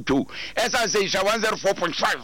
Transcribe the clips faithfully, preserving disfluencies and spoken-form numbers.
twotwo ɛsan sɛ Nhyira one zero four point five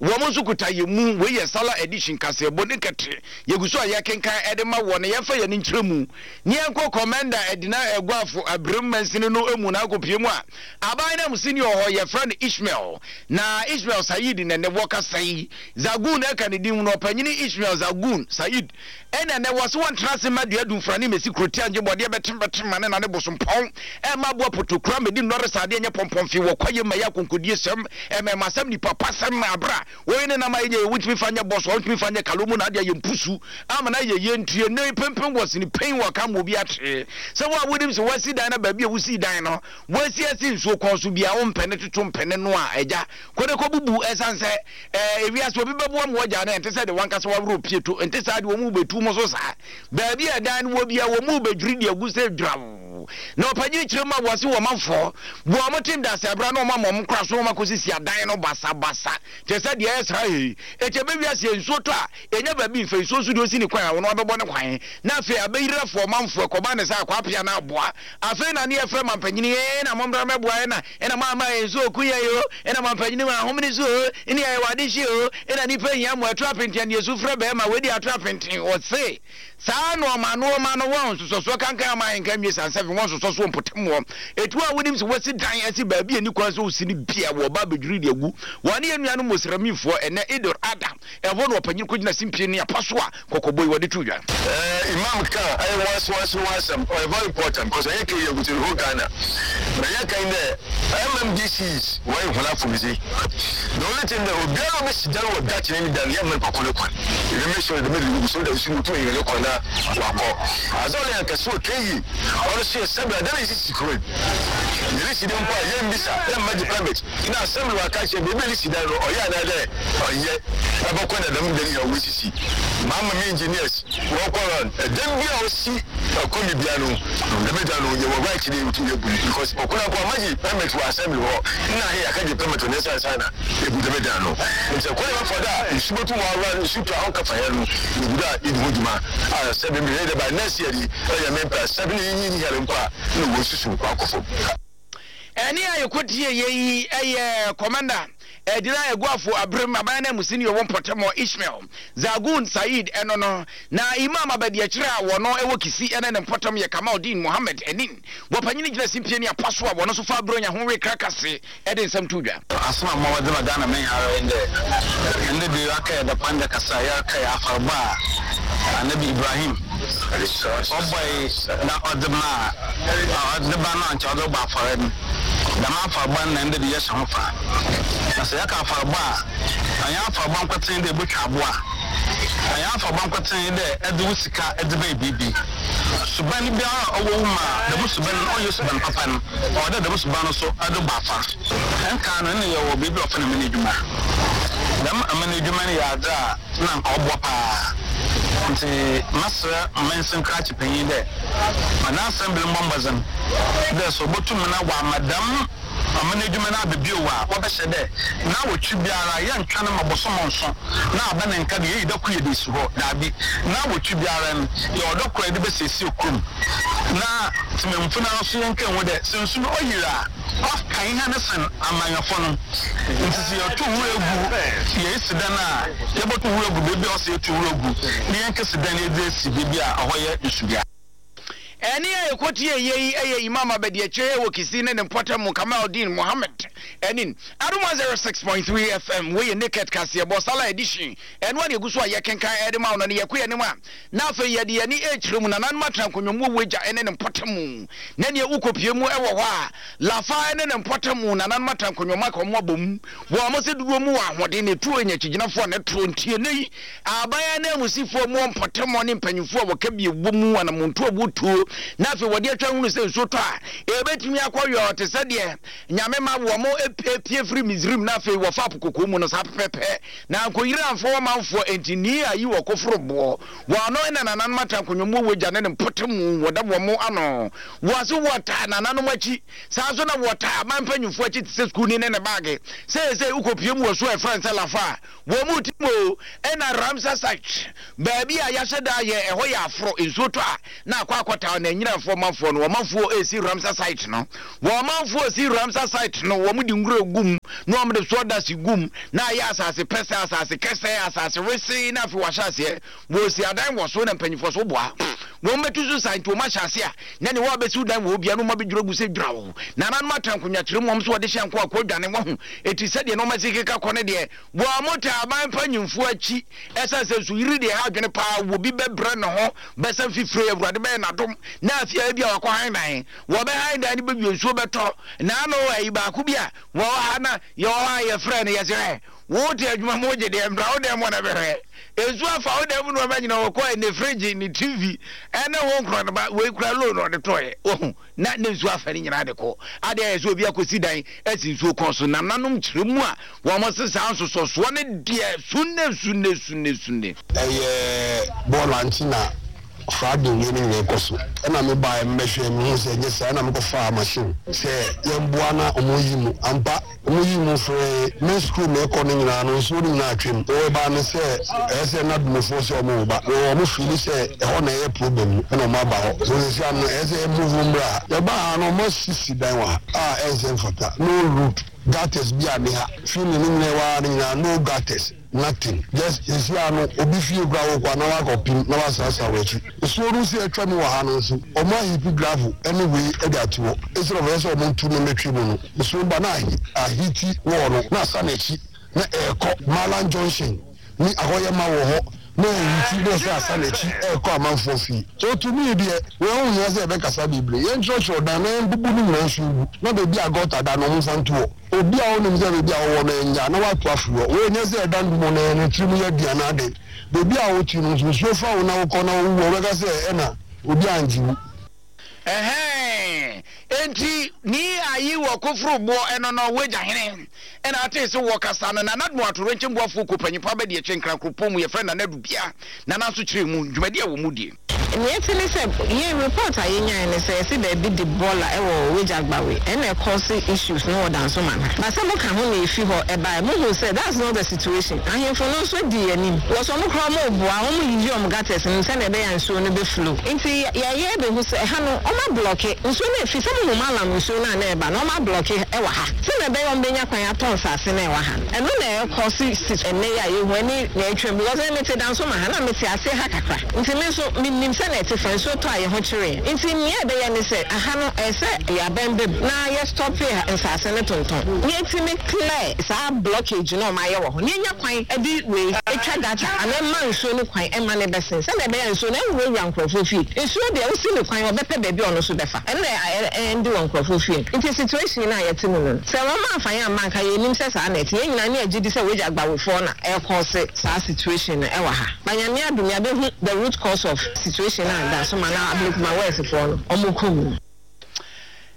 wɔn nso kuta yɛ mu. Wei yɛ Salah edition kaseɛbɔ ne kɛte yɛgu so a yɛkenkan ɛde ma wɔ ne yɛmfa yɛn nkyerɛ mu ne yɛnkɔ Commander Ɛdina Ɛguafo Abirem mansini no mu na akɔpie mu a aban na musini wɔ hɔ yɛfrɛ no Ishmael, na Ishmael Said na ne wɔkasa yi Zagun ɛka ne din no ɔpanyini Ishmael Zagun Said ɛna ne wɔ so wɔntena ase ma dua dumfra ne mesi kurotia ngye bɔdeɛ bɛtem ma ne na ne bosompɔn ɛma aboa potokura medi nnɔre saadeɛ nyɛ pɔmpɔmfi wɔ kwaye ma yɛ akonkodie sɛm ɛmɛma sɛm nipa pa sɛm abra wɔyi ne nam ayɛ nyɛ wɔntumi fa nyɛ bɔs wɔntumi fa nyɛ kalo mu na adeɛ yɛ mpusu ama na yɛ yɛ ntie ne pempem wɔ sini pɛn wɔ ka ma obi atee sɛ wo a wonim sɛ wɔasi dan na baabi a wosi dan no wɔasi asi nsuo kɔn so bia wo mpɛne toto mpɛne no a agya kɔde kɔ bubu ɛsan sɛ ɛɛ ewiase obi bɛboa mu wɔgya no ɛnte sɛ de wankasa waworɔ pie to nte saa de wɔn mu bɛtu mu so saa baabi a dan no wɔ bia wɔn mu bɛdwiri de agu sɛ dwaw na ɔpanyin kyerɛ mu a wɔsi wɔn manfoɔ wɔn mo te ndase abira na wɔn ama wɔn kora so wɔn akɔsisi adan no basabasa kyerɛ sɛ deɛ ɛyɛ saa yi ekyɛ bɛ wiase nsuo tɔ a enya baabi nfa nsuo nso deɛ osi ne kwan a wɔn abɛbɔ ne kwan na afei abɛyirafoɔ manfoɔ ɛkɔba ne sɛ akɔ apia na aboa afei na ne yɛfrɛ mampanyini ee na mɔmra mɛboa ɛna ɛna mo ama yɛn nsuo oku yɛ yo ɛna mampanyini ma ahomene so o ɛne yɛ wade hye o ɛna nipa hia mo ɛto apenten ne esu frɛ bɛrima wedi ato apenten ɔse saa nneɛma nneɛma no wɔn nsosɔsoɔ kankan ama yɛn nka nwie sansa fi wɔn nsosɔsoɔ mpɔtam wɔ etu a wonim sɛ wɔsi dan ɛsi baabi a ni kwan so osi ne bia wɔ ba abɛdwiri de agu wɔn ne yɛn nuanom musramifoɔ ɛnɛ Idul Adha ɛhɔ na ɔpanyin kɔgyina simpie ne apa so a kɔkɔbɔ yi wɔde to dwa. Uh, Imam ka ɛyɛ once once once ɔyɛ very important because ɛyɛ kɛ yɛ gutu whole Ghana na yɛ kan dɛ M M D Cs wɔyɛ hɔn afɔmdze. The only thing that obiara obesi dan wɔ dakye ne dan yɛ mmerɛ pako ne kwan ebi make sure dɛm de so da nsu mutum yɛ ne kwan na wakɔ adze ɔno yɛ kɛse wɔ keyi ɔno so yɛ sɛbi adan yɛ sisi kuro yɛre si dan mpo a yɛn bisa yɛn mma gye permit na assembly wɔ aka kyerɛ beebi yɛre si dan no ɔyɛ anaa dɛ ɔyɛ ɛbɛkɔ na dɛm dan yɛ ɔwɔ maama mi engineers wɔkɔ run ɛdan bi a ɔsi ɛkɔmi bia no dɛm dan no yɛ wɔ right ne yɛ yɛ bu because ɔkora kɔ amagye permit wɔ assembly hɔ nna ahɛ yɛaka gye permit wɔ ne nsa nsa na ebu dɛm dan no nti ɛkɔ yɛ bɛfɔ da nsu bɛtu wɔ awura nsu tu ahɔ kafa yɛ no ebu da edi ho dwuma a sɛbi mi yɛ dɛ by next year yi ɛyɛ mi mpɛ sɛbi ne yi yi yɛrɛ mpo a na wɔ susu akɔ fam. Ɛne a yɛkɔtie yɛ yi ɛyɛ Commander Ɛdina Eguafo Abirem aban na musini wɔ mpɔtam Ishmael Zagun Said ɛno no na Imam Abadiakyire a wɔno ɛwɔ Kisi ɛne ne mpɔtam yɛ Kamaldeen Mohammed ɛnin wɔpanyini gyina simpie ne apa so a wɔno so fa aburo nya ho we krakase ɛde nsɛm to dwa. Asɛm a mɔwɔ de ma Ghana men ara ndɛ ndɛ bi aka yɛ dapanda kasa yɛ aka yɛ afarba a Anabi Ibrahim ɔbɔe na ɔde ma ɔde ba no ankyɛ ɔde bɔ afɔre no dɛm afarba no na ndɛ bi yɛhyɛ ho fa na sɛ yɛka afarba a ɛnyɛ afarba nkɔten dɛ ebotwa aboa ɛnyɛ afarba nkɔten dɛ ɛde wo sika ɛde bɛyɛ biribi suban biara a ɔwɔ wo mu a dɛm suban no ɔnyɛ suban papa no ɔwɔ dɛ dɛm suban no so ɛde bɔ afa ɛnka no ɛne yɛwɔ biribi a ɔfɛ no mene adwuma dɛm amene adwuma no yɛ adze a na nka ɔboa paa nti masrɛ mmansin krakye panyin dɛ ɔna assembly mbɔ mbɔdzen dɛ sɛ ɔbɛtum na wama dɛm amene adwuma no abɛbio a wɔbɛhyɛ dɛ na wɔtwi biara yɛntwa no ma bɔsɔmɔ nso na aba ne nka de yɛyi dako yɛ de si hɔ daabi na wɔtwi biara no yɛ ɔdɔ kora yɛde bɛsiesie kurom na temamfo no nso yɛnka ho dɛ sɛ nsu no ɔyere a ɔka ihe ne sen amanyɔfo no nti sɛ yɛto wura gu yɛsi dan a yɛbɛto wura gu baabi a ɔsɛ yɛto wura gu ne yɛnka si dan yɛde asi baabi a ɛhɔ yɛ nsubea. Ɛne a yɛkɔtie yɛ yi ɛyɛ Imam Abadiakyire wɔ Kisi ne ne mpɔtam Kamaldeen Mohammed ɛnin Adom one zero six point three F M wɔyɛ Naked Kaseɛbɔ Salah edition ɛno a ne yɛgu so a yɛkenkan ɛde ma wo no ne yɛkɔ yɛn anim a na afei yɛde yɛne ɛkyerɛ mu nananom atena nkonnwa mu wɔ agya ɛne ne mpɔtam na neɛ wokɔpie mu ɛwɔ hɔ a Lafa ɛne ne mpɔtam nananom atena nkonnwa mu aka wɔn abɔ mu wɔn mo sɛ dodoɔ mu wɔ ahoɔden na etuo nya akyigyinafoɔ ne toro ntie ne yi aban ananmusifoɔ mu mpɔtam ne mpanyinfoɔ a wɔka bi wɔ mu anamontuo a wɔtuo na afei wɔde atwa hunu sɛ nsuo tɔ a ebetumi akɔ yɔ te sɛ deɛ nyame ma wɔn mo epie firi Misrim na afei wɔfa apokoko mu no saa pɛpɛpɛ na nkoyiri amfo wɔn manfoɔ enti ni ayi wɔ koforo boɔ wɔn ano ɛna nananom atena nkonnwa mu wɔ gya ne ne mpɔtam wɔda wɔn mo ano wɔase wɔtaa nananom akyi saa nso na wɔtaa aban mpanyinfoɔ akyi te sɛ sukuu ni ne ne baage sɛ sɛ wokɔpie mu wɔ so a ɛfrɛ nsɛ Lafa wɔn mu ti mu ɛna Ramsar site baabi a yɛahyɛ da yɛ ɛhɔ yɛ aforo nsuo tɔ a na akɔ akɔta na nyinafoɔ manfoɔ no wɔn manfoɔ esi Ramsar site no wɔn manfoɔ esi Ramsar site no wɔn de nwura gum na wɔn de sawdust gu mu na ayɛ asase pɛsɛ, asase kɛsɛ, asase wesee, na afei wɔahyɛ aseɛ wɔsi adan wɔ so na mpanyinfoɔ so boa wɔn bɛtu so sa. Nti wɔn ahyɛ ase a na ne wɔn abɛsi dan wɔ obia no wɔn abɛdwira gu sɛ dwira wɔ nananom ata nkonnwa kyerɛ mu, wɔn nso wɔde hyɛ nko akɔ dwane wɔ ho. Eti sɛdeɛ na wɔn asi keka kɔ ne deɛ, wɔn mo ta aban mpanyinfoɔ akyi, ɛsan sɛ nso yiri deɛ ha adwene paa. Wɔ bi bɛbrɛ ne ho bɛsɛ mfifire, Awurade bɛyɛ n'adom na afei a ebi a wakɔ han dan, wɔbɛ han dan no bɛwie, nsuo bɛtɔ n'ano. Ayi baako bi a wɔwɔ ha na yɛwɔ hɔ a yɛfrɛ no, yɛsɛ ɛ wote adwuma mu wogye deɛ mbra wo dɛm wɔ na bɛhwɛ nsuo afa wo dɛm nneɛma nyina wɔkɔ ne fridge ne T V ɛne ho nkorɔ no ba wei kura loan ɔde tɔɔyɛ wɔho na ne nsuo afa ne nyinaa de kɔ adeɛ ayɛ sɛ obi akɔsi dan asi nsuo kɔn so. Nananom kyerɛ mu a wɔn se saa nsosɔsoɔ ne deɛ sunne sunne sunne sunne. Ɛyɛ bɔɔla nti na flooding wie no nyinaa kɔ so, ɛna me baa mbɛhwɛ mehu sɛ ɛnyɛ saa, ɛna mekɔfaa machine sɛ yɛmboa na ɔmo yi mu ampa. Ɔmo yi mu fere me school na ɛkɔ no nyinaa no, nsuo no nyinaa atwam. Wɔba no sɛ ɛyɛ sɛ NADMOfoɔ sɛ ɔmo ba na ɔmo feel sɛ ɛhɔ na ɛyɛ problem no, ɛna ɔmo aba hɔ so sɛ ano ɛyɛ sɛ ɛmove mmra ha. Yɛba ha no, ɔmo asisi dan wɔ ha a ɛnsɛ mfata, no road, gutters bi a ne ha fili no nyinaa ɛwɔ ha no nyinaa, no gutters, nothing. Just esi ano obi fie kura wɔ kɔ na wakɔ pim na wasrasra wɔ akyi. Nsuo no si atwa mu wɔ ha no nso, ɔmo aheap gravel ɛne wei ɛde ato hɔ instead of ɛsɛ ɔmo ntu no mɛtwi mu no, nsuo ba na ahi ahit wɔɔ no na asa n'akyi na ɛɛkɔ Malan Junction ne akɔyɛ ma wɔ hɔ na ɛhit na ɛsɛ asa n'akyi ɛɛkɔ amanfoɔ fie. So to me deɛ, wɔn ho hia sɛ ɛbɛkasa bebree. Yɛn kyerɛkyerɛ dan na yɛn bubu no nyinaa nso gu na beebi a gutter da no, ɔmo nfa nto hɔ. Obi a ɔnim sɛ beebi a ɔwɔ no ɛnya na wato afiri hɔ. Wɔn nyɛ sɛ ɛdan dum no ɛno tiri mu yɛ di anaade beebi a wote no nso, nsuo fa wo na wokɔ na wowu, ɔbɛka sɛ ɛna obi angye wo. Ɛhɛn, enti ni ayi wɔ koforo boɔ ɛno no wagya hene ɛna ate sɛ wɔkasa no. Nana no atoro nkyɛn boafoɔ kɔ panyimpa bɛde akyi nkrankoropɔn mu, yɛfrɛ Nana Dubia. Nana nso kyerɛ mu dwumadi a wɔ mu die. Nea ɛte ne sɛ yɛn report a yɛnyae ne sɛ yɛsɛ baabi de bɔɔla ɛwɔ Wagya Gbawe, ɛna ɛkɔse issues no wɔ Dansoma ha ba sɛ moka ho na ɛfi hɔ ɛbae. Mohu sɛ that's not the situation. Ahemfo no nso di anim wɔ sɛ ɔmo koraa ɔmo boa, ɔmo yiyi ɔmo gutters no sɛnea ɛbɛyɛ a nsuo no bɛflow. Nti yɛyɛ bɛhu sɛ ɛha no ɔmo ablock nsuo no efi sɛ mohu malam nsuo no a na ɛba no, ɔmo ablock ɛwɔ ha sɛnea ɛbɛyɛ ɔmo bɛnya kwan atɔ nsase no ɛwɔ ha no. Ɛno na ɛkɔ si si ɛnɛ yi a yɛhu ɛne na ɛtwam, because ɛne mete Dansoma ha na mete ase ha kakra, nti me nso menim sɛ na ɛte fa nsuo tɔ a yɛ ho kyerɛ. Nti nea ɛbɛyɛ ne sɛ aha no ɛsɛ yɛabɛn bɛm na yɛstop nsase no tontɔn na yɛtumi clear saa blockage na ɔmo ayɛ wɔ hɔ na yɛnya kwan ɛde wei etwa gutter ana ɛma nsuo no kwan ɛma ne bɛsen sɛnea ɛbɛyɛ nsuo no ɛnwurawura nkurɔfoɔ fie. Nsuo deɛ, wosi ne kwan, ɔbɛpɛ baabi a ɔno nso bɛfa, ɛno na ɛndi wɔ nkurɔfoɔ fie. Nti situation no a yɛte mu no, sɛ wɔn amfa yɛn amma nka yɛnim sɛ saa na ɛte. Yɛn nyinaa ne agye di sɛ Wagya Gbawefoɔ na ɛkɔɔse saa situation no ɛwɔ ha. Banyame adum yɛabɛhu the root cause of situation a Dansoma na Ablekuma Westfoɔ no ɔmo kɔ mu.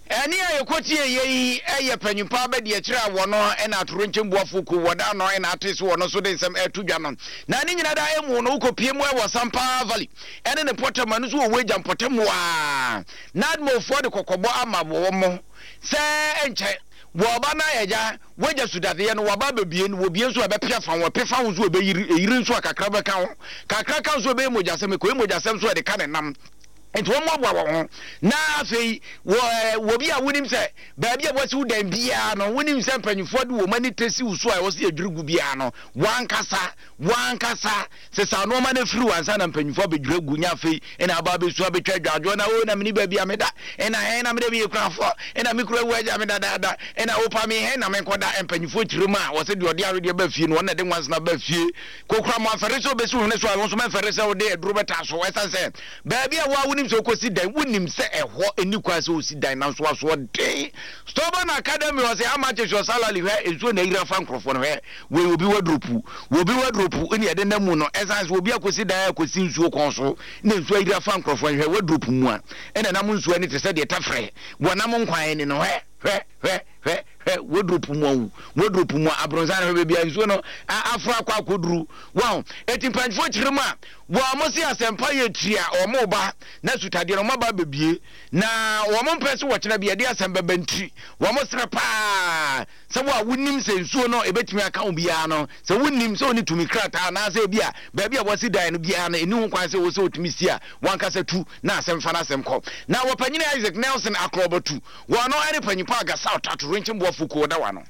Ɛne a yɛkɔtie yɛ yi ɛyɛ panyimpa bɛdi akyerɛ a wɔno ɛna atoro nkyɛn boafo ku wɔda no ɛna ate so wɔno nso de nsɛm ɛto dwa no. Na ne nyina da ɛmu no, wokɔpie mu ɛwɔ Sampa Valley ɛne ne mpɔtam ɛno nso wɔ wagya mpɔtam a NADMOfoɔ de kɔkɔbɔ ama wɔ mo sɛ ɛnkyɛ wɔba na ɛgya wagya sudadeɛ no wɔba bɛbie no, wɔbie nso a ɛbɛpia fa ho, ɛpe fa ho nso ɛbɛyiri, ɛyiri nso a kakra bɛka ho, kakra ka nso ɛbɛyɛ mogyasɛm, ɛkɔyɛ mogyasɛm nso ɛde ka ne nam. Nti wɔn mmoaboa wɔn ho na afei wɔ ɛɛ wɔ bi a wonim sɛ baabi a wɔasi wo dan biara no, wonim sɛ mpanyinfoɔ de wɔn ani tesi wo so a wɔsi adwiri gu biara no, wankasa wankasa sesa nneɛma no afiri wansa na mpanyinfoɔ abɛdwiri agu nya. Afei ɛna aba abɛsu abɛtwa adwadwoɔ na o na mene baabi a meda ɛna hɛn na mede meyɛ kurafoɔ ɛna me kura wu agya me dadaada ɛna wopa me hɛn na menkɔda. Mpanyinfoɔ kyerɛ mu a wɔsɛ deɛ ɔde awedeɛ ba fie no, wɔn na de nwansena ba fie. Kokura mo afɛre sɛ wobɛsi wo hwene so a, wɔn nso mɛmfɛre sɛ wode aduro bɛta so, ɛsiane sɛ baabi a woa wonim sɛ wokɔsi dan, wonim sɛ ɛhɔ ɛni kwan sɛ wosi dan, nanso asoɔden. Stubborn Academy wɔ sɛ how much is your salary? Hwɛ nsuo na ayira fa nkurɔfoɔ no. Hwɛ wei, obi wardrobe, obi wardrobe ne yɛde nam mu no, ɛsiane sɛ obi akɔsi dan akɔsi nsuo kɔn so na nsuo ayira fa nkurɔfoɔ no. Hwɛ wardrobe mu a ɛna nam nsuo ani te sɛ deɛ tafrɛ wɔnam nkwan ani no. Hwɛ, hwɛ, hwɛ, hwɛ, hwɛ wardrobe mu awu, wardrobe mu a abrɔnsan no, hwɛ baabi a nsuo no aforo akɔ akɔduru wɔn. Eti mpanyinfoɔ kyerɛ mu a wɔn mo se asɛmpa yɛ tiri a wɔn ba na sutadeɛ no wɔn aba bebie na wɔn mpɛ so wɔkyerɛ bi yɛde asɛm bɛbɛ ntiri. Wɔn srɛ paa sɛ wo a wonim sɛ nsuo no ebɛtumi aka wo biara no, sɛ wonim sɛ wone tumi krataa anaasɛ ebi a baabi a wɔasi dan no biara no ɛni ho kwan sɛ wɔ sɛ wotumi si a, wankasa tu na asɛm fa no asɛm kɔ. Na wɔpanyini Isaac Nelson Akorɔbɔtu wɔn no ɛne panyimpa Agasa Ɔtato Renkyɛn Boafo kuo da wa no.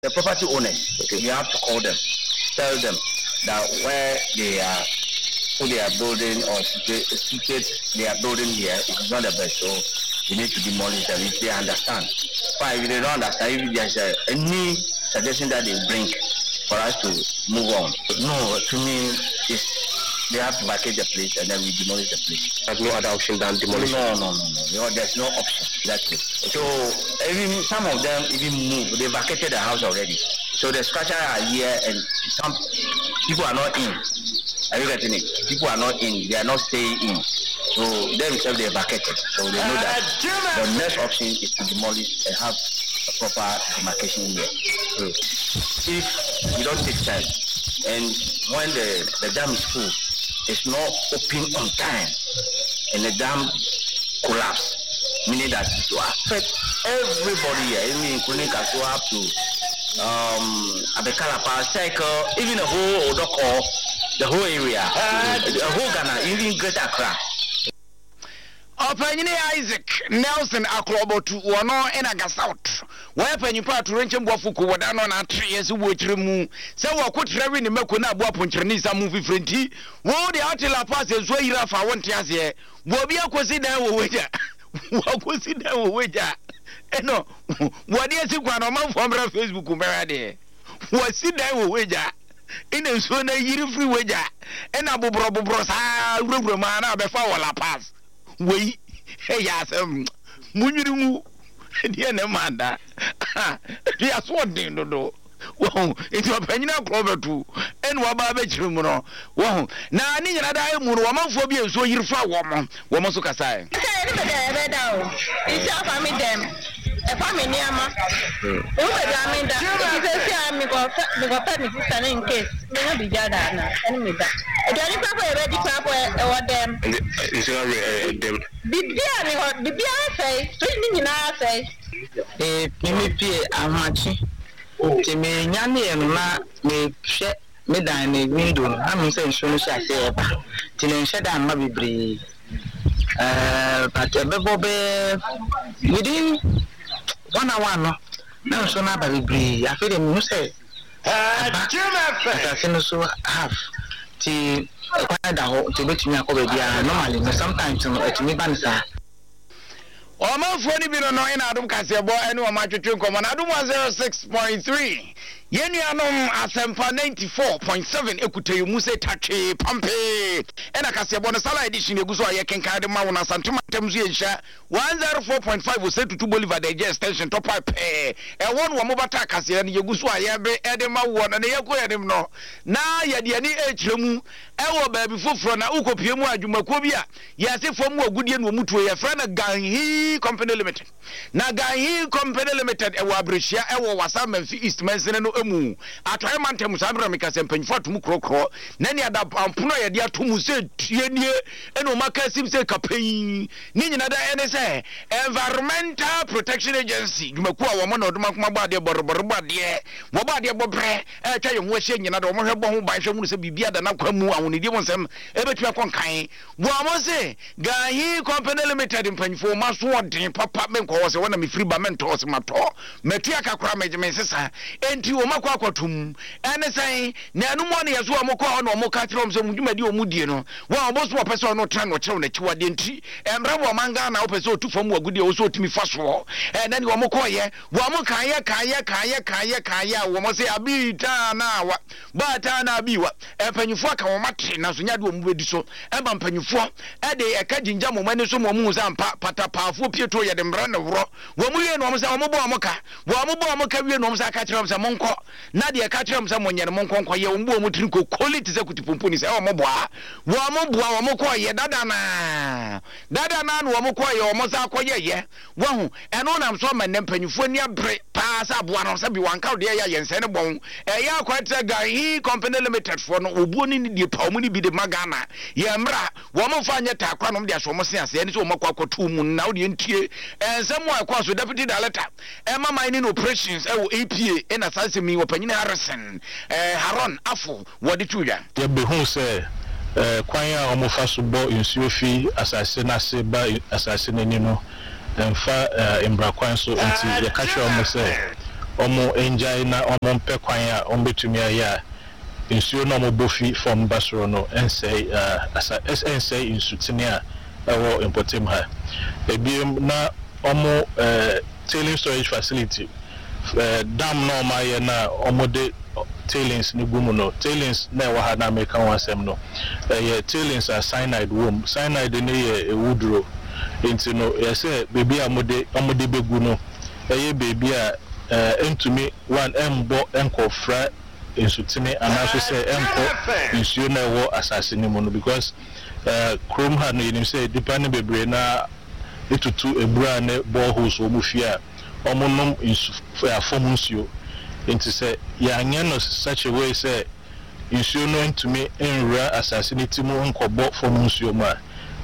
The property owners, okay. We have to call them, tell them that where they are, who they are building or situate they are building here, it is not the best. So we need to demolish them if they understand. But if they don't understand, if there's a, any suggestion that they bring for us to move on. No, to me, it's they have to vacate the place and then we demolish the place. There's no other option than demolition? No, no, no, no. no there's no option. Exactly. So even some of them even moved. They vacated the house already. So the structure are here and some people are not in. Are you getting it? People are not in. They are not staying in. So themselves, they vacated. So they know that the next option is to demolish and have a proper demarcation here. Mm. If you don't take time, and when the, the dam is full, it's not open on time, and the dam collapse, meaning that it will affect everybody here, even including Kasoa up to um, Abekalapa, Cycle, even the whole Odoko, the whole area, the whole Ghana, even Greater Accra. Ɔpanyini Isaac Nelson Akrobotu wɔno ɛna Gasouth wɔyɛ panyimpa atorenkyɛm boafo ko wɔda no na atre yɛ sɛ wɔkyerɛ mu sɛ wɔko trɛwe ne mako na aboa ponkyerɛne sa mu fifiri nti wo deɛ ate La Paz nsuo ayiri afa wo nte aseɛ wɔbi akɔsi dan wɔ wagya wɔakɔsi dan wɔ wagya ɛno wɔde asi kwan na ɔmanfoɔ mmra Facebook mbɛhwɛ adeɛ wɔasi dan wɔ wagya ɛna nsuo no ayiri firi wagya ɛna boborɔ boborɔ saa wurawura mu a na abɛfa wɔ La Paz. Wei ɛyɛ asɛm munwiri ngu deɛ ne ma da deɛ aso ɔden dodo wɔn nti ɔpanyin akorɔ bɛtu ɛna waba abɛkyerɛ mu no wɔn na ne nyina daa emu no wɔmanfoɔ bi nsuo yiri fa wɔn wɔn nso kasaɛ. Sɛ ɛne bɛda ɛbɛda o nsi afa mi dɛm ɛfa mi nneɛma ewu bɛda mi da eti sɛ si a mi kɔ fɛ mi kɔ fɛ mi sista ne in case mi nya bi gya da na ɛne mi da aduane papo yɛ bɛ di papo ɛwɔ dɛm. Nsuo awie dɛm. Bibia ni hɔ bibia asɛe fridge ni nyinaa asɛe. Ee mi pie ahomakye nti mi nya ne yɛ no na mi hwɛ mi dan ne window no na mi sɛ nsuo no hyɛ ase ɛba nti ne nhyɛ da mma bebree ɛɛ but ɛbɛbɔ bɛɛ within one hour no na nsuo no aba bebree afei de mi hu sɛ ɛba asase no so half nti ɛkwan da hɔ nti obetumi akɔ baabi a normally no sometimes no ɛtumi ba ne saa. Ɔmanfoɔ no bi no no ɛna adom kaseɛbɔ ɛne ɔma atwetwe nkɔmmɔ na adom one oh six point three yɛn nuanom Asɛmpa ninety-four point seven ekuta yɛn mu sɛ tatwe pampe ɛna kaseɛbɔ no Salah edition egu so a yɛkenkan de ma wɔn Asantuma ntam so yɛnhyia one oh four point five wɔ Tutu Bolivar de gye extension tɔpa pɛɛ ɛwɔ no wɔn bata kaseɛ no yɛgu so a yɛbe ɛde ma wɔn na yɛkɔ yɛn anim no na yɛde ani ɛkyerɛ mu ɛwɔ baabi foforɔ na wokɔpie mu adwumakuo bi a yɛase fam wɔ agudie no wɔn tuo yɛfrɛ no Ganhi Company Limited na Ganhi Company Limited ɛwɔ Abirehyia ɛwɔ Wasa Mamfi East Mansini no emu atɔeɛ mantam saa mmerɛ meka sɛ mpanyinfoɔ atom korɔkorɔ na ne ada ampono a yɛde ato mu sɛ tie nie ɛna wɔn aka asim sɛ kapɛn ne nyina da ɛne sɛ Environmental Protection Agency dwumakuo a wɔn na ɔdom akoma bɔ adeɛ bɔrebɔre bɔ adeɛ wɔbɔ adeɛ bɔ brɛ ɛtwa yɛn ho ahyia nyina da wɔn hwɛ bɔ ho ban hwɛ hunu sɛ biribi ada n'akwan mu ahonidie mu nsɛm ɛbɛtumi akɔ nkan wɔn se Ganhi Company Limited mpanyinfoɔ wɔn aso ɔden papa menkɔ hɔ sɛ wɔn na mefiri ba mentɔ hɔ sɛ matɔ matua kakora megye me nsesa enti wɔn akɔ akɔtum ɛne sɛn na ɛnum wɔn yɛ so wɔn kɔ hɔ na wɔn ka kyerɛ wɔn sɛ wɔn dwumadi wɔn die no wɔn a wɔn so wɔpɛ sɛ ɔno tena na ɔkyerɛw n'akyiwadeɛ nti mmerɛ wɔ ɔman Ghana wɔpɛ sɛ ɔtu fam wɔ agudie wɔ so ɔtumi fa soɔ ɛnɛ ne wɔn kɔɔyɛ wɔn kaayɛ kaayɛ kaayɛ kaayɛ kaayɛ a wɔn sɛ abi taa na wa baa taa na abi wa mpanyinfoɔ aka wɔn ate na so nyade wɔn bɛdi so ɛma mpanyinfoɔ ɛde ɛka gyingya wɔn ani so wɔn mu sɛ ampa patapaafoɔ pie to yɛde mmerɛ ne worɔ wɔn wie na wɔn sɛ wɔn bɔ wɔn ka wɔn bɔ wɔn ka wie na wɔn sɛ aka kyerɛ wɔn sɛ monkɔ na deɛ ɛka kyerɛ wɔn sɛ monyɛ no monkɔ nkɔ yɛ wɔn bu wɔn tiri kokoli te sɛ kutipompo ni sɛ wɔn boa wɔn boa wɔn kɔ yɛ dada naa dada naa na wɔn kɔ yɛ wɔn sɛ akɔ yɛ yɛ wɔn ɛno nam so ama nnɛ mpanyinfoɔ ani abere paa sɛ aboa no sɛ bi wɔn anka deɛ yɛ yɛn nsɛn ne bɔn ɛyɛ akɔ Ganhi Company Limited foɔ no obuo ne ne die pa wɔn ne bi de ma Ghana yɛ mmra wɔn mfa nyɛ taakora nom de aso wɔn se ase ɛne sɛ wɔn akɔ akɔto mu na wɔde ntie nsɛm a ɛkɔ so Deputy Director ɛma mining operations ɛwɔ A P A ɛna saa nsɛm yi wɔpanyin Harrison ɛɛ Haron Afo wɔde to dwa. Yɛbɛhu sɛ ɛɛ kwan a wɔn fa so bɔ nsuo fi asase n'ase ba asase n'ani no mfa ɛɛ mbra kwan so nti yɛka kyerɛ wɔn sɛ Ɔmo ngyae na ɔmo mpɛ kwan a ɔmo bɛtumi ayɛ a nsuo na ɔmo bɔ fi fam ba soro no ɛnsɛe ɛɛ asa ɛnsɛe nsutene a ɛwɔ mpɔtam ha. Ebiem na ɔmo ɛɛ tailing storage facility, ɛɛ dam na ɔmo ayɛ na ɔmo de tailings no gu mu no, tailings na ɛwɔ ha na meka ho asɛm no, ɛyɛ tailings a cyanide wɔ mu. Cyanide no yɛ ewuduro, nti no yɛsɛ beebi a wɔde wɔde bɛgu no ɛyɛ beebi a ɛɛ ntumi one ɛmbɔ ɛnkɔfra nsutene anaasɛ sɛ ɛnkɔ nsuo na ɛwɔ asase no mu no, because ɛɛ kurom ha no, yɛnim sɛ nipa no bebree na etutu ebura ne boreholes wɔ mu fie a wɔn nom nsu afɔm nsuo. Nti sɛ yɛanyɛ no such a way sɛ nsuo no ntumi nwura asase no ti mu nkɔbɔ fam nsuo mu a,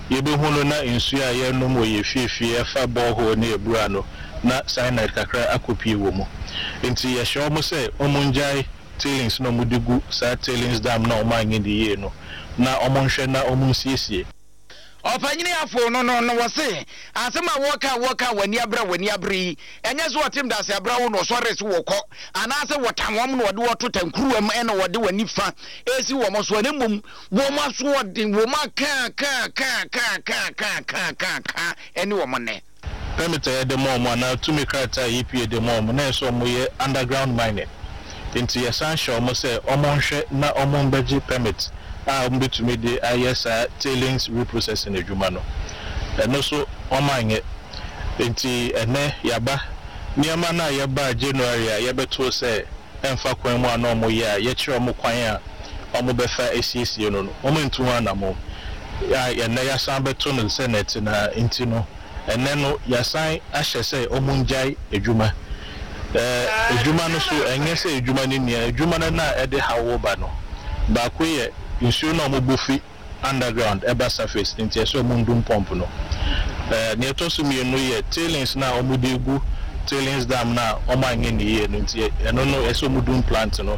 yɛbɛhu no na nsuo a yɛnom wɔ yɛ fiefie ɛfa borehole ne ebura no na cyanide kakra akɔpie wɔ mu. Nti yɛhyɛ wɔn sɛ wɔn ngyae tailings na wɔn de gu saa tailings dam na wɔn anyɛ de yie no, na wɔn nhwɛ na wɔn nsiesie. Ɔpanyini afo no no no wɔse asɛm a wɔka wɔka w'ani abere, w'ani abere yi, ɛnyɛ sɛ wɔtem da ase abere wo na ɔsɔre so wɔkɔ anaasɛ wɔta wɔn na wɔde wɔto tankuruwa mu ɛna wɔde w'ani fa esi wɔn so, ɛna mmom wɔn aso ɔden wɔn aka ka ka ka ka ka ka ka ka ɛne wɔn nɛ. Permit a yɛde ma ɔmo anaa tumi krataa a E P A de ma ɔmo na ɛsɛ ɔmo yɛ underground mining, nti yɛsan hyɛ ɔmo sɛ ɔmo nhwɛ na ɔmo mbɛgye permit a ɔmo bɛtumi de ayɛ saa tailings reprocessing adwuma no. Ɛno so ɔmo anyɛ, nti ɛnɛ yaba nneɛma no a yɛbaa January a yɛbɛtoo sɛ ɛmfa kwan mu a na ɔmo yɛ a yɛkyerɛ ɔmo kwan a ɔmo bɛfa asiesie no no ɔmo ntu ho anammɔn a ɛnɛ yɛasan bɛto no sɛ nɛte na nti no ɛnɛ no yɛasan ahyɛ sɛ ɔmo ngyae adwuma. ɛɛ adwuma no so, ɛnyɛ sɛ adwuma no nia adwuma no na ɛde hawo ba no. Baako yɛ nsuo no a ɔmo bɔ fi underground ɛba surface, nti ɛsɛ ɔmo ndum pump no. ɛɛ nea ɛtɔ so mmienu yɛ tailings na ɔmo de gu tailings dam na ɔmo anyɛ ne yie no, nti ɛno no ɛsɛ ɔmo dum plant no.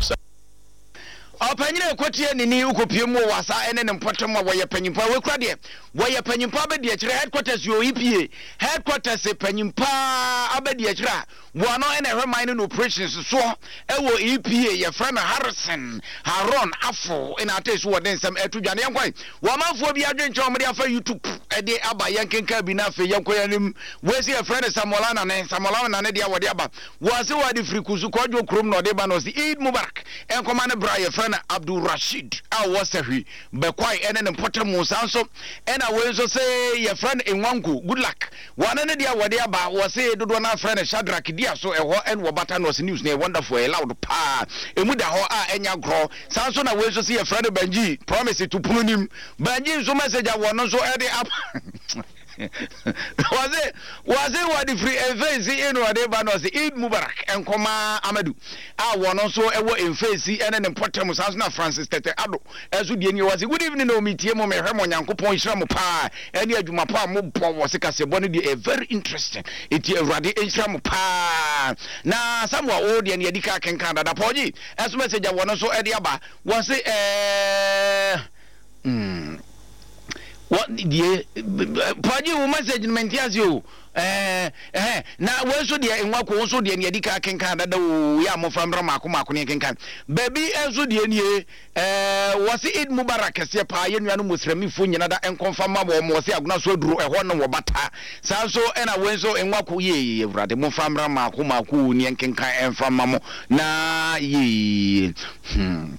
Ɔpanyini ekotie nini wokɔpie mu wɔ Wasa ɛne ne mpɔtam a wɔyɛ panyimpa wɔkura deɛ wɔyɛ panyimpa abɛdi akyerɛ headquarters yɛ E P A headquarters, panyimpa abɛdi akyerɛ a wɔno ɛna ɛhwɛ mining operations soɔ ɛwɔ E P A, yɛfrɛ no Harrison Haron Afo, ɛna ate so wɔde nsɛm ɛto dwa. Ne yɛnkɔe wɔmanfoɔ bi adwenkyɛn wɔde afa YouTube ɛde aba, yɛnkenka bi na afei yɛnkɔ yɛn anim. Wɔasi yɛfrɛ no Samuel Nane, Samuel Nane deɛ wɔde aba, wɔase wɔde firi Kusu Kɔdwo kurom na ɔde ba no, ɔse Eid Mubarak ɛnkɔma ne bra yɛfrɛ no Abdul Rashid a ɔwɔ Sɛhwi Bɛkwae ɛne ne mpɔtam. Saa nso ɛna wei nso sɛ yɛfrɛ no Nwanko Good Luck, wɔne ne deɛ wɔde aba, wɔse dodoɔ no afrɛ no Shadrack Dia so ɛhɔ ɛne wɔbata no, ɔse news no yɛ wonderful, ɛyɛ loud paa, ɛmu da hɔ a ɛnya gorɔ. Saa nso na wei nso sɛ yɛfrɛ no Banji Promise to pono nim. Banji nso message a wɔno nso ɛde aba, wɔse wɔse wɔde firi Mfɛnsi ɛnu ɔde ba no, ɔse Eid Mubarak nkɔma Amadu a wɔno nso ɛwɔ Mfɛnsi ɛne ne mpɔtam. Saa nso na Francis Tɛtɛ Ado ɛso deɛ nie, wɔse good evening o, metie mo, mehwɛ mo, Nyankopɔn nhyira mo paa ɛne adwuma pa a mobɔ. Wɔ se kasɛbɔ no deɛ ɛyɛ very interesting, ɛnti Awurade nhyira mo paa. Na Samuel wo deɛ ne yɛdi ka kenkan dada. Pɔgye ɛso message a wɔno nso ɛde aba, wɔse ɛɛ mm, wɔ die pɔgye wo message no mente ase o. ɛɛ ɛhɛn na wɔn nso deɛ nwako nso deɛ ne yɛdi ka kenkan dada o, yɛ a mmɔfra mmra maako maako ne kenkan baabi nso deɛ nie. ɛɛ wɔsi Eid Mubarak kɛseɛ paa yɛn nuanom muslimifo nyina da nkɔnfa ma wɔn. Wɔsi agona so aduro ɛhɔ no wɔ bata. Saa nso ɛna wɔn nso nwako yie, Awurade mmɔfra mmra maako maako ne nkenkan ɛnfa ma mo na yie hmm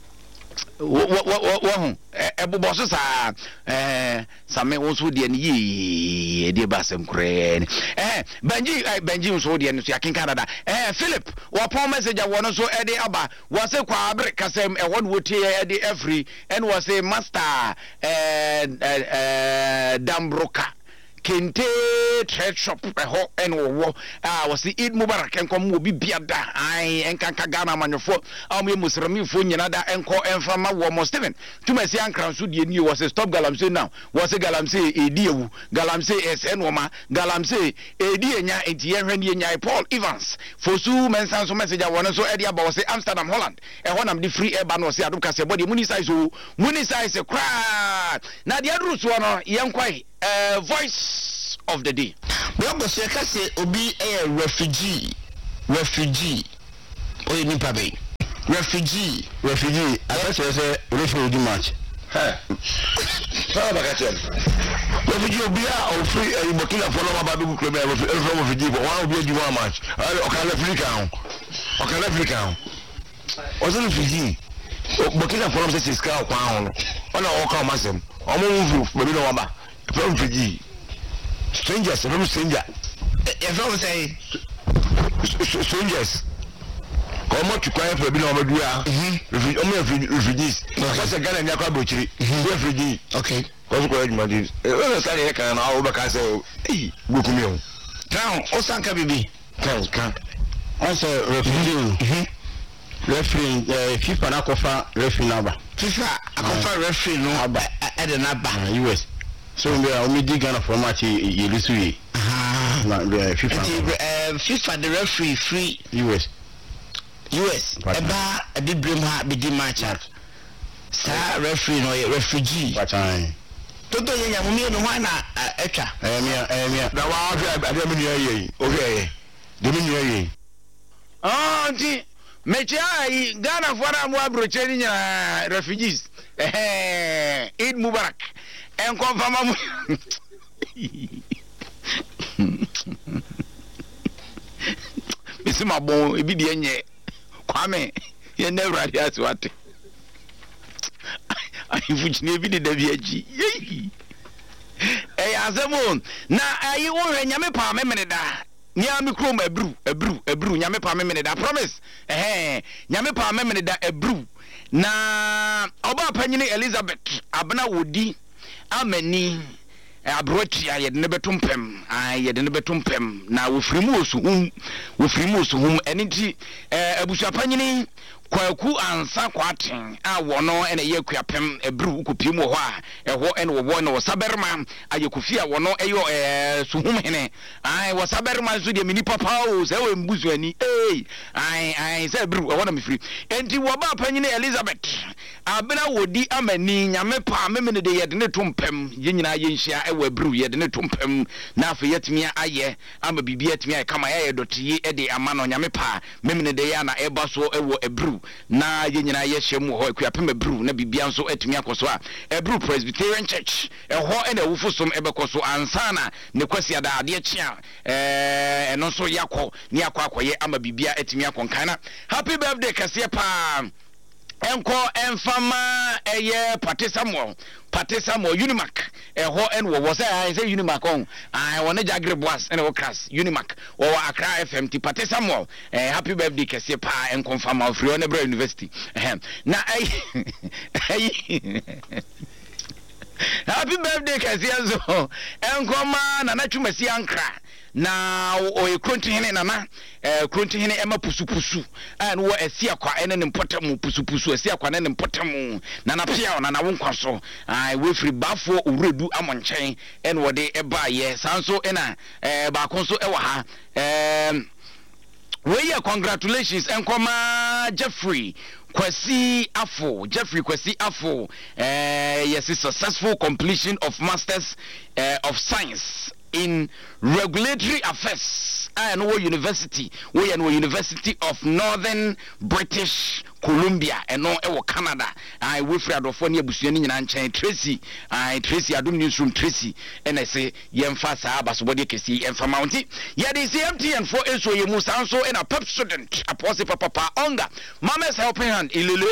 wɔho ɛbobɔ so saa. ɛɛ same wo nso deɛ no yie, ɛdeɛ ba asɛm koraa ni. ɛɛ Benji ɛɛ Benji nso deɛ no so yɛakenka dada. ɛɛ Philip wɔpɔn message a wɔn nso ɛde aba, wɔse Kwaabere kasɛm ɛhɔ no wɔtie ɛde afiri, ɛna wɔse master ɛɛ ɛɛ Dambroka Kente trade shop ɛhɔ ɛna wɔwɔ a, wɔsi Eid Mubarak nkɔm wɔ bi bia da ayi nkanka Ghana amanyɔfoɔ a wɔyɛ muslimifoɔ nyina da nkɔ ɛnfa ma wɔn. Stephen Tumasi Ankara nso deɛ nie, wɔsi stop galamsey now. Wɔsi galamsey edi ewu, galamsey ɛsɛ nneɛma, galamsey edi enya, nti yɛhwɛ ne yɛnya. Paul Evans Fosu Mɛnsa nso message a wɔn nso ɛde aba, wɔsi Amsterdam, Holland ɛhɔ nam de firi ɛba no, wɔsi adum kaseɛ bɔ deɛ muni size o, muni size koraa na deɛ aduru soɔ no yɛn kɔɛ. Uh, voice of the day. Blɔkɔ so yɛka sɛ obi yɛ refugee, refugee, Ɔyɛ nipa bɛyi refugee. Refugee akɛkyerɛ sɛ referee odi match. Sábà bàkà kyerɛ no refugee obi a ofiri ɛyi Burkina fo na ɔba abegu kurom yɛ referee refugee fo wɔn a obi adi wɔn match ɔka referee kan ho ɔka referee kan ho ɔsɛ refugee Burkina fo na ɔsɛ sika ɔkwan ho no ɔna ɔka ɔmo asɛm ɔmo ho firi baabi na ɔmo aba ɛfɛ refugee strangers ɛfɛ stranger. Yɛfrɛ wo sɛ strangers ɔmo tu kwan fɛ bi na ɔmo dua ɔmo yɛ refugees ɔsɛ Ghana ni akɔ aburokyiri yɛ refugee. Okay. Kɔsu kɔ adwuma di ɛsɛ sani yɛ kan na awo bɛ ka sɛ eyi gbókun mi o. Crown ɔsan ka bibi. Kan kan. Ɔsɛ refugee referee ɛɛ FIFA n'akɔfa referee n'aba. FIFA akɔfa referee no aba ɛde n'aba. U S so n bɛ a ɔmo di Ghana fɔ match yɛli so yie. Na FIFA. Nti ɛɛ FIFA de referee free. U S. U S ɛba abibirem ha bedi match a saa referee no ɔyɛ refugee. Toto yɛ nyamu mmienu hɔ na ɛtwa. Ɛyɛ mia ɛyɛ mia. Na waa hwɛ adeɛ mi nua yɛ yi o hwɛ yɛ deɛ mi nua yɛ yi. Ɔɔ nti mekyia ayi Ghana foɔ na mo aburokyire ni nyinaa refugees ɛhɛn Eid Mubarak ɛnkɔnfama mo. Mesi ma bɔn ebi deɛ nyɛ. Kwame yɛn na Awurade ase wate ahemfo kyini ebi deda bi akyi yeyi ɛyɛ asɛm o. Na ayi wohwɛ Nyame paa memene da nea me kurom aburu aburu aburu Nyame paa memene da promise ɛhɛn Nyame paa memene da aburu. Na ɔbaa panyini Elizabeth Abena wodi amani aburotia yɛde ne bɛto mpɛm ai yɛde ne bɛto mpɛm na wofiri mu osuhum wofiri mu osuhum. Ɛne nti abusua panyini Kwaku Ansa Kwaten a wɔno ɛna ɛyɛ Akuapem aburu wokɔpie mu wɔ hɔ a ɛhɔ ɛna wɔwɔ na wɔsabarima ayɛ Kofi a wɔno ɛyɛ suhum hene ai wɔsabarima nso deɛ meni papa o sɛ ɛwɔ mbusuani ei ai ai sɛ aburu ɛhɔ na mefiri. Enti wɔbaa panyini Elizabeth Abena wodi amani Nyame pa memene de yɛde ne to mpɛm yɛn nyinaa yɛnhyia ɛwɔ aburu yɛde ne to mpɛm na afei yɛatumi ayɛ ama biribi atumi ayɛ kama yɛayɛ dɔteye de ama no Nyame pa memene de yɛ na ɛba so ɛwɔ aburu na yɛn nyinaa yɛhyɛ mu wɔ hɔ Akuapem aburu na biribia nso atumi akɔ so a Aburu Presbyterian Church ɛhɔ ɛna awufo som ɛbɛkɔ so ansa na ne Kwasiada adeɛ kye a ɛno nso yɛakɔ ne yɛakɔ akɔyɛ ama biribia atumi akɔ nkan. Na happy birthday kɛseɛ paa ɛnkɔ ɛnfama ɛyɛ Pate Samuel Pate Samuel Unimac ɛhɔ ɛna wɔwɔ sɛ ayɛ sɛ Unimac ɔn ayɛ wɔn Jagre Boas ɛna wɔ Kras Unimac wɔwɔ Accra F M ti Pate Samuel ɛɛ happy birthday kɛseɛ paa ɛnkɔ nfama ofiri hɔ ne brɛ university ɛhɛn na ɛyi ɛyi happy birthday kɛseɛ nso ɛnkɔma Nana Twumasi Ankra na ɔyɛ Krontihene Nana eh Krontihene ɛma pusupusu a no wɔ asi akwa ɛne ne mpɔtamu pusupusu asi akwa ne ne mpɔtamu Nana Piao Nana wo nkwa so ai wefiri baafoɔ owuredu amɔ nkyɛn ɛna wɔde ɛbaayɛ saa nso ɛna eh baako nso ɛwɔ ha eh wei yɛ congratulations ɛnkɔma Jeffrey Kwasi Afo Jeffrey Kwasi Afo eh yes successful completion of Masters eh, of Science in Regulatory Affairs a no university we no University of Northern British Columbia ɛno ɛwɔ Canada. I wefiri adɔfoɔ ne abusua ne nyinaa nkyɛn Tracy I Tracy Adom Newsroom Tracy ɛna ɛsɛ yɛmfa saa abasobɔdeɛ kɛseɛ yɛmfa ma nti yɛde si M T N foɔ nso yɛ mu saa nso ɛna Pepsodent apɔse papapa Onga Mama's Helping Hand ilele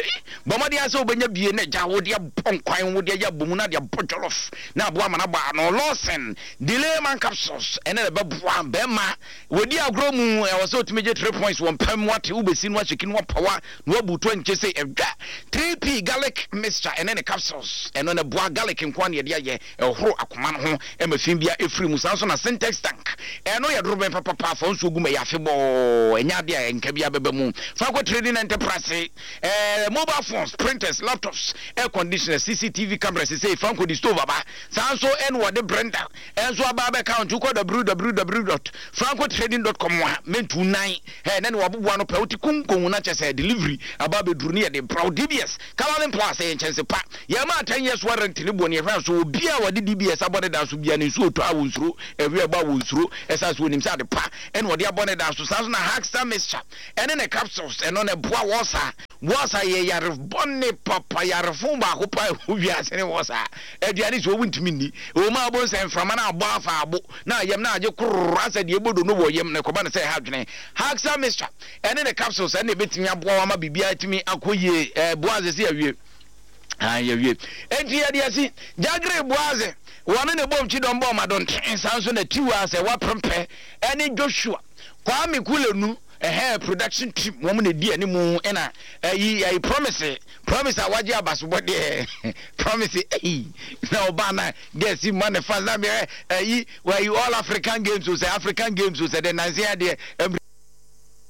bɔmmɔden asɛ wobɛnya bie na gya wo deɛ bɔ nkwan wo deɛ yɛ abɔ mu na deɛ bɔ jollof na aboa ma na bɔ ano Lawson Delay Man Capsules ɛna ɛbɛboa bɛrima wɔdi agorɔ mu ɛwɔ sɛ otumi gye three points wɔ mpam wate wobɛsi no ahyɛki no apawa na wabutu nkyɛ sɛ ɛdwa three P garlic mixture ɛne ne capsules ɛno na boa garlic nko ne yɛde ayɛ ɛhoro akoma no ho ɛma fi bia ɛfiri mu saa nso na Syntex tank ɛno yɛ dorobɛn papapa fa nsuo gu ma yɛ afebɔɔ ɛnyɛ adeɛ a ɛnka bia bɛba mu Franco Trading Enterprise eh, mobile phones, printers, laptops, air conditioners, C C T V cameras sɛ Franco di stove aba saa nso ɛne wɔde Brenda ɛnso aba abɛka nti wokɔ w w w dot franco trading dot com a mentu nan ɛ na ne waboboa no pɛ wote konkongu na kyɛ sɛ delivery Aba abɛduru ne yɛde brɛ wo. D B S Colouring Plus ɛyɛ nkyɛnse pa. Yɛma ten years warranty ne boɔ ne yɛhwɛ so. Obi a wɔde D B S abɔ ne dan so bia ne nsuo tɔ a wɔ nsuro, ɛwi ɛbɔ a wɔ nsuro, ɛsan so onim sɛ ade pa ɛna wɔde abɔ ne dan so. Saa so na Haxa mixture ɛne ne capsules, ɛno na ɛboa wɔ saa wɔ saa yɛ yare bɔne papa, yarefo baako pa ɛwɔ wiase ne wɔ saa aduane sɛ wɔwu ntumi nni ɛwɔ mu a wɔbɔ nsɛ mframa no abɔ afa abo na ayam na agye kororo asɛ deɛ ɛbɔ do no wɔ yam na ɛkɔba no sɛ ɛha adwene. Haxa mixture ɛne ne capsules ɛne ɛbɛtumi aboa wa ma biribiara tumi akɔ yie. Ɛɛ boaze sɛ yɛwie, yɛwie, enti yɛde asi Gyagere Boaze wɔne ne bɔm kyidɔm bɔ ɔmadɔnten. Saa nso na Tiwa sɛ waprempɛ ɛne Joshua Kwame Kulenu ɛhɛn production team wɔn na edi anim. Ɛna ɛyi ɛyi Promise, Promise a wagye abasobɔ deɛ, Promise ɛyi na ɔbaa na gɛsi ma ne fans na mɛ ɛyi wɔyi All African Games o, sɛ African Games o, sɛ de nansi adeɛ ɛmiri.